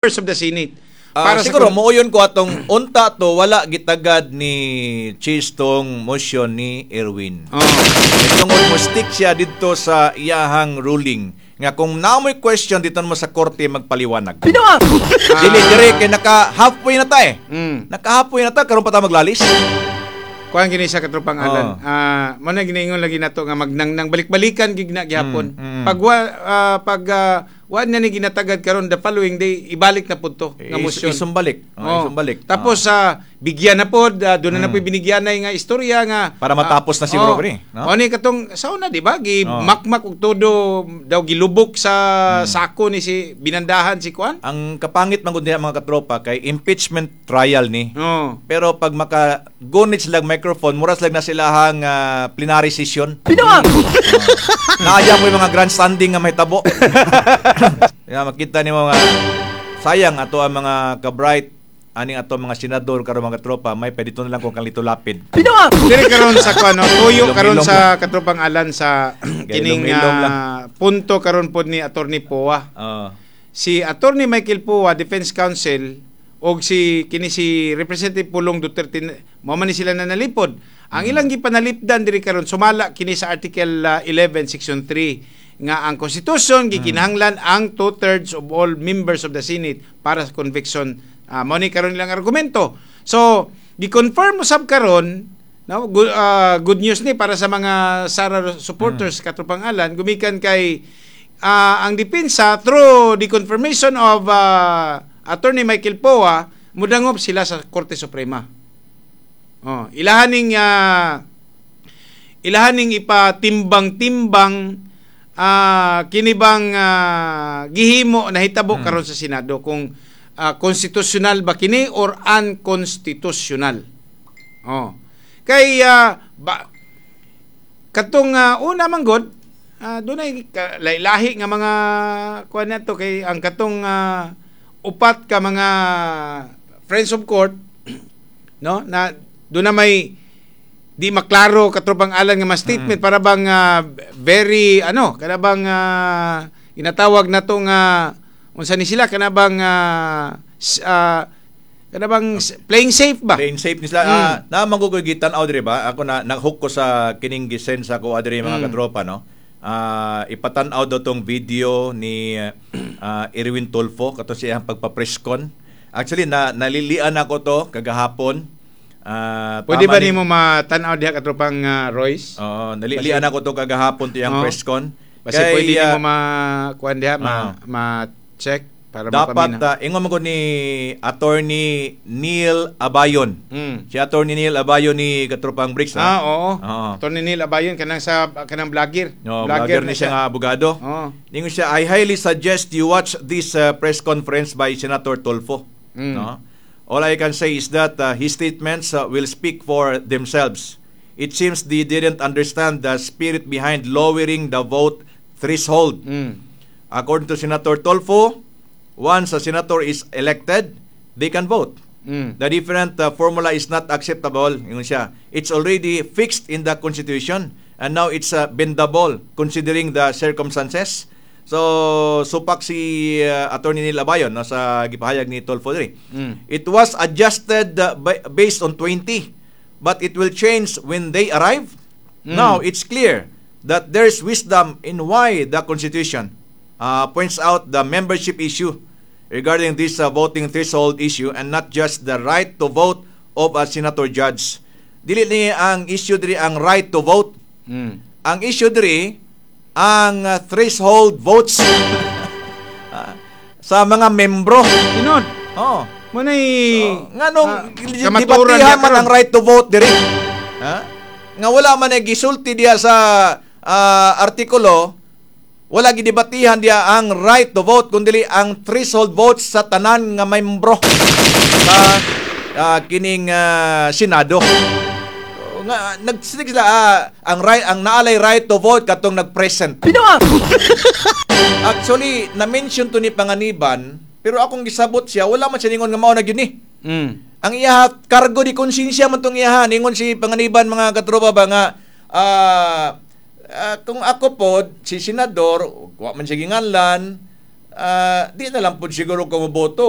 Of the Senate. Para sa siguro muuyon ko atong unta to wala gitagad ni Chiz tong motion ni Erwin. Tungod mo stick siya didto sa iyahang ruling nga kung naa mo'y question dito mo sa korte magpaliwanag. Dili dire kay naka halfway na ta eh. Naka halfway na ta, karon pa ta maglalis. Kuan gini sa, katropang Alan. Oo. Mo na giniingon lagi nato nga magnangnang balik-balikan gigna gihapon. Pag wa na ni ginatagad karon, the following day ibalik na pud to nga motion. Isumbalik. Oh, isumbalik. Tapos sa bigyan na pod, doon na na po'y binigyanay nga istorya nga Para matapos na siguro ni, no? O ni katong sa una, di ba, gi makmak og todo daw gilubok sa sako ni si binandahan si kuan. Ang kapangit man gud niya, mga katropa, kay impeachment trial ni. Pero pag maka gunit sila microphone, mura sila na silahang plenary session. Pinoa. Naaya mo yung mga grandstanding nga mahitabo. Ya, makita ni mga sayang ato ang mga ka-bright aning ato mga senador karon, mga tropa, may pwede na lang kung kalito lapid. Diri karon sa kuan, no, tuyo karon Ilong-ilong sa katropang Alan sa kining Ilong-ilong lang. Punto karon pod ni Attorney Poa. Si Attorney Michael Poa, Defense Counsel, og si kini si Representative Pulong Duterte, mao man ni sila na nalipod. Ang ilang gipanalipdan diri karon sumala kini sa Article 11 Section 3 nga ang Constitution gikinahanglan ang two-thirds of all members of the Senate para sa conviction. Mao ni karon ilang argumento. So, gi-confirm usab karon, no, good news ni para sa mga Sara supporters, katropang Alan, gumikan kay ang depensa, through the confirmation of Attorney Michael Poa, mudangop sila sa Korte Suprema. Oh, ilahaning ipatimbang-timbang kini bang gihimo nahitabo karon sa Senado kung constitutional ba kini or unconstitutional. Oh. Kay ba, katong una man god, dunay lahi nga mga kuan nato kay ang katong upat ka mga friends of court, no, na doon na may di maklaro, katropang Alan, nga mga statement para bang very ano kana bang inatawag na to nga unsa ni sila kana bang kana bang playing safe ba? Playing safe ni sila. Ah, na man gitan-aw diri ba? Ako na nag-hook ko sa kining gisend sa ko adiri, mga katropa, no. Ipatan-aw daw tong video ni Erwin Tulfo kato siyang pagpa-presscon. Actually na nalilian ako to kagahapon. Pwede tama ba nimo matan-aw diha, katropang Royce? Oo, nalilian ako to kagahapon to yung presscon. Basi Kay, pwede nimo ma kuan diha ma ma-check para dapat mapamina. Ingon man ko ni Attorney Neil Abayon. Si Attorney Neil Abayon ni katropang Bricks. Ah, oo. Oo. Attorney Neil Abayon kanang sa kanang vlogger. No, vlogger ni siya nga abogado. Ningon siya, "I highly suggest you watch this press conference by Senator Tulfo." No? "All I can say is that his statements will speak for themselves. It seems they didn't understand the spirit behind lowering the vote threshold. According to Senator Tulfo, once a senator is elected, they can vote. The different formula is not acceptable." Ingon siya. "It's already fixed in the Constitution and now it's bendable considering the circumstances." So, supak si Attorney Neil Abayon, no, sa gipahayag ni Tulfo diri. "It was adjusted based on 20, but it will change when they arrive. Now, it's clear that there's wisdom in why the Constitution points out the membership issue regarding this voting threshold issue and not just the right to vote of a senator judge." Dili ni ang issue diri ang right to vote. Ang issue diri ang threshold votes sa mga membro. Tinod. Oh. Mo nay So, nganong kamaturan debatihan niya man karon. Ang right to vote diri? Ha? Nga wala man ay gisulti diya sa artikulo, wala gidebatihan diya ang right to vote kundi ang threshold votes sa tanan nga membro sa kining Senado. So, nga nagsinig sila ang right, ang naalay right to vote katong nagpresent. Actually, na-mention to ni Panganiban, pero akong gisabot siya, wala man siya ningon nga mao na gyud ni. Ang iyaha, cargo de konsensya man tong iyaha. Ningon si Panganiban, mga katropa ba, nga kung ako po si senador, wa man siya ginganlan, Di na lang po siguro ko moboto.